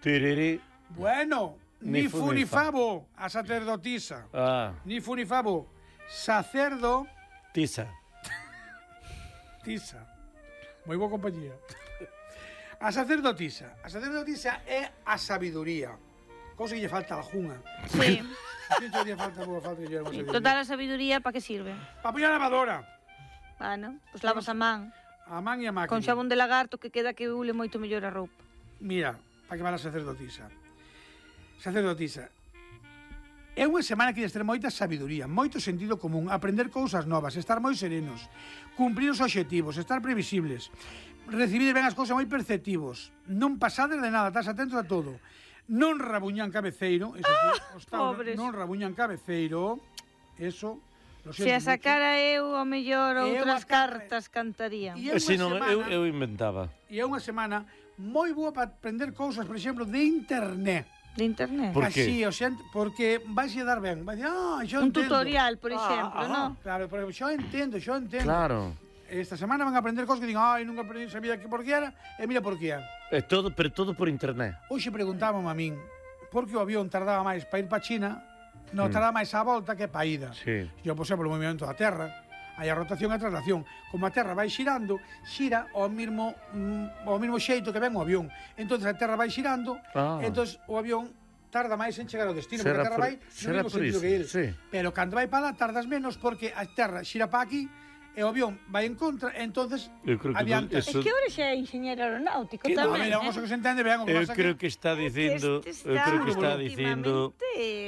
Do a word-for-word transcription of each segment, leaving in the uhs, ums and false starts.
Tiriri. Bueno, ni, Ni fu fu ni ni fa. favo, a sacerdotisa. Ah, Ni fu ni favo, sacerdo, tisa. tisa. Moi boa compañía. A sacerdotisa. A sacerdotisa é a sabiduría. Cousa que lle falta a algunha. Sí. Que lle falta, boa falta que lle falta sabiduría. Total, a sabiduría, para que sirve? Pa poñer a lavadora. Bueno, pois lavas a man. A man e a máquina. Con xabón de lagarto que queda que ule moito mellor a roupa. Mira, para que vale a sacerdotisa. Sacerdotisa. É unha semana que debes ter moita sabiduría, moito sentido común, aprender cousas novas, estar moi serenos, cumprir os obxectivos, estar previsibles, recibir ben as cousas moi perceptivos, non pasades de nada, estás atentos a todo, non rabuñan cabeceiro, eso sí, os tauros, pobres. non rabuñan cabeceiro, eso, lo Se a siento sacara eu, ao mellor, Eu outras a cara- cartas cantarían. E é unha Si non, eu, semana- eu inventaba. E é unha semana moi boa para aprender cousas, por exemplo, de internet. De internet. Por qué? Así, o sea, porque vais a dar ben. Vais a decir, ah, yo Un entendo. tutorial, por Ah, exemplo, ah, non? Claro, pero yo entendo, yo entendo. Claro. Esta semana van a aprender cosas que digan, ai, nunca aprendi, sabía que por que era, e mira por que é. É todo, pero todo por internet. Hoxe preguntábamos a min, por que o avión tardaba máis para ir para China, non tardaba máis a volta que para a ida. Sí. Eu, por exemplo, o movimento da Terra, hai a rotación e a traslación. Como a Terra vai xirando, xira ao mesmo, mm, ao mesmo xeito que ven o avión. Entonces a Terra vai xirando, Ah. entonces o avión tarda máis en chegar ao destino, Será porque a Terra por- vai no será mesmo por sentido iso, que el. sí. Pero cando vai para lá tardas menos porque a Terra xira para aquí e o avión vai en contra, entonces Eu creo que adianta. eso- Es que ahora xa é ingeniero aeronáutico Que- A tamén, ver, é unha eh? cosa que se entende ben, o que Eu pasa creo que que está dicindo, Este eu creo que está últimamente dicindo.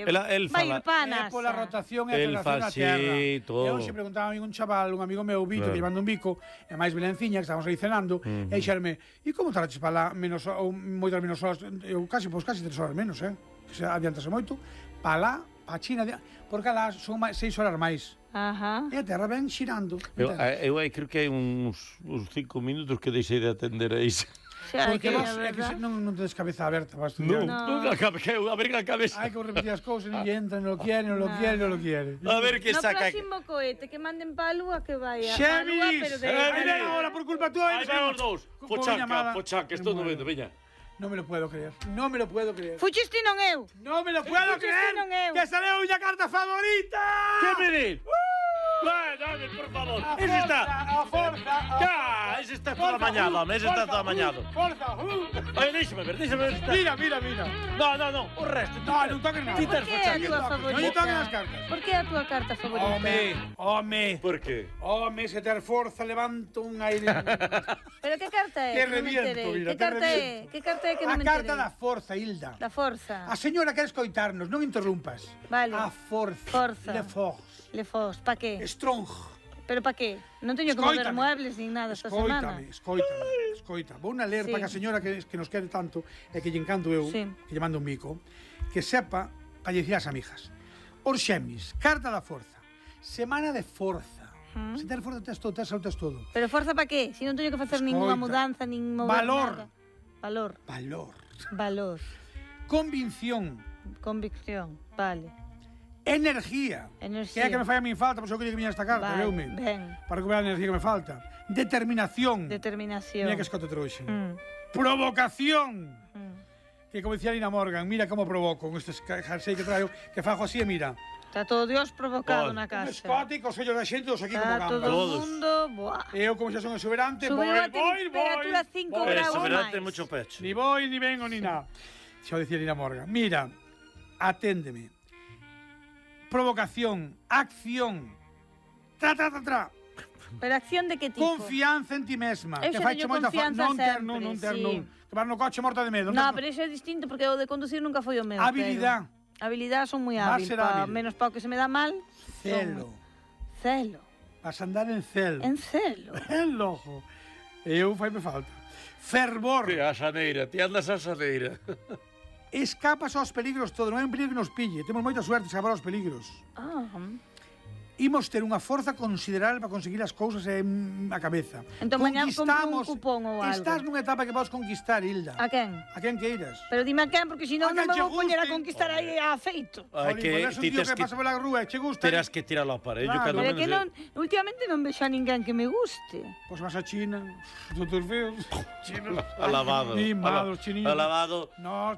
Ela- el vai fala- ir pa a é NASA. pola rotación e a El traslación fa da Terra. así, todo. E hoxe preguntaba a mí un chaval, un amigo meu, Vito, Claro. que llevando un bico, e máis Belenciña, que estábamos aí cenando, e dixerme, e como tardaches para lá menos, ou moitas menos horas, eu casi, pois casi tres horas menos, eh? Que se adiantase moito, para lá, para China, porque lá son máis, seis horas máis. Ajá. E a Terra ven xirando. Eu, entendes? eu aí creo que hai uns, uns cinco minutos que deixei de atender a iso. Xa, Porque que, vos, a é que se, verdad. non, non tedes cabeza aberta para Non, estudiar. non, a cabe- que eu abrir a cabeza. Hai que repetir as cousas, non lle entra, non lo quiere, non lo quiere, non lo quiere. A ver que No saca. próximo cohete que manden pa a lúa que vaya. Xemis! Pero de... Xemis! Aí ven agora por culpa túa. Aí van os dous. Con Pochaca, llamada. pochaca, estou no vendo, veña. Non me lo puedo creer. Non me lo puedo creer. Fuchis ti non eu. Non me lo puedo Fuchis creer. ti non eu. Que sale unha carta favorita. Que me dis? Vai, dame, por favor. A Ese está. forza, a forza. a Cá, ese está todo amañado, home, ese está todo amañado. Forza, uh. Oye, déxame ver, déxame ver. se está- Mira, mira, mira. No, no, no, o resto. No, non toques nada. Ti Por tes que é a pochaca. túa Non lle favorita? toquen as cartas. Por que é a túa carta favorita? Home, home. Por qué? Home, se ter forza, levanto un aire. Pero que carta é? Te Que non me reviento, enterei. mira, Que te carta é? reviento. Que carta é que A non me carta enterei? da forza, Hilda. Da forza. A señora quere escoitarnos, non interrumpas. Vale. A forza. Forza. Le force. Le fos, pa que? Strong. Pero pa que? Non teño que mover Escóitame. muebles nin nada esta semana. Escoítame, escoítame, escoita. Vou na ler Sí. para que a señora que, que nos quere tanto e que lle encanto eu, Sí. que lle mando un bico, que sepa para lle dicir ás amigas. Os xemis, carta da forza. Semana de forza. Mm. Se ter forza tes todo, tes salud, tes todo. Pero forza pa que? Si non teño que facer Escoita. ninguna mudanza, nin mover Valor. nada. Valor. Valor. Valor. Convinción. Convicción. Vale. Energía. Enerxía. Que é que me fai a min falta, por iso quería que viña esta carta, Vale, veume. ben. Para recuperar a energía que me falta. Determinación. Determinación. Mira que escote trouxe. Mm, Provocación. mm. Que como dicía Lina Morgan, mira como provoco con estes jersey que traio, que fajo así e mira. Está todo Dios provocado Oh, na Un casa. escote cos ollos da xente dos aquí como Está todo gambas. o Todos. mundo... Buah. E eu como xa son exuberante, Subiu voy, a voy, temperatura voy, cinco voy. graus. Eso, máis. verdad, ten mucho pecho. Ni voy, ni vengo, ni nada. Xa o dicía Lina Morgan. Mira, aténdeme. Provocación, acción, tra, tra, tra, tra. Pero acción de que tipo? Confianza en ti mesma. Eu que xa faiche teño moita fa- confianza non ter, sempre, non, non ter, sí. non. Que vas no coche morta de medo. No, tes- pero iso é distinto porque o de conducir nunca foi o meu. Habilidad. Pero... Habilidad son moi Vas hábil. ser Pa, hábil. menos pa o que se me dá mal. Celo. son- Celo. Vas a andar en celo. En celo. En lojo. Eu fai me falta. Fervor. Que a xaneira, ti andas a xaneira. Escapas aos peligros todo, non é un peligro que nos pille. Temos moita suerte de escapar aos peligros. Ah, Imos ter unha forza considerable para conseguir as cousas en a cabeza. Entón, mañá compro un Conquistamos- cupón ou algo. Estás nunha etapa que podes conquistar, Hilda. a quen? A quen queiras. Pero dime a quen, porque senón A non quen me che vou poñer a guste. conquistar aí a feito. Hai Jolín, que pois és un ti tío tes que que pasa pola rúa e che gusta. terás que tiralo ao aparello, Claro. cando Pero é menos. que non, últimamente non vexo a ninguén que me guste. Pois vas a China, os outros feos. Alabado. Mimados, chinitos. Alabado. Nós